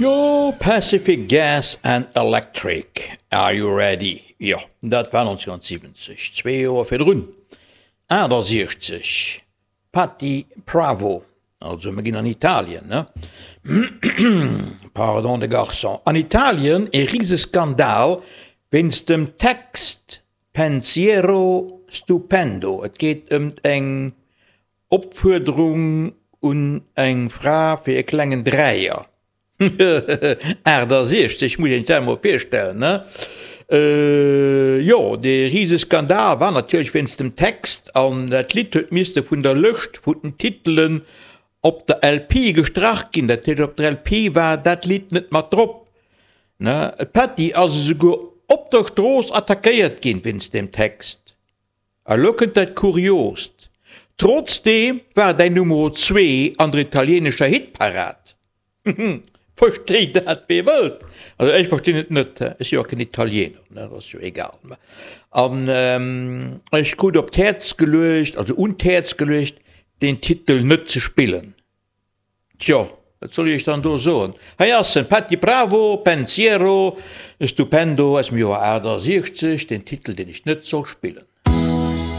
Jo, Pacific Gas and Electric, Are You Ready? Jo, dat war 1970, zwee Joer virdrun, 68, Patty Pravo, also mir ginn an Italien, ne? Pardon de Garçon. An Italien e Riseskandal wéinst dem Text Pensiero stupendo. Et geet ëmt eng Opfuerderung un eng Fra fir e klengen Dräier. 68, muss een sech dat emol virstellen, ne? Jo, dee Riseskandal war natierlech wéinst dem Text an dat Lidd huet misste vun der Lëscht vun den Titelen op der LP gestrach ginn. Dat heescht, op der LP war dat Lidd net mat drop, ne? D'Patty ass esouguer op der Strooss attackéiert ginn wéinst deem Text. A lo kënnt dat Kuriost, Trotzdeem war däin Numero zwee an der italienescher Hitparad. Versteet dat wee wëllt. Also ech verstinn et net, ech si jo och keen Italiener, ne, dat ass jo egal. An ech krut op d'Häerz geluecht, also un d'Häerz geluecht, deen Titel net ze spillen. Tjo, wat soll ech iech dann do soen? Hei ass en, Patty Pravo, Pensiero, Stupendo aus dem Joer 68, den Titel, deen ech net soll spillen.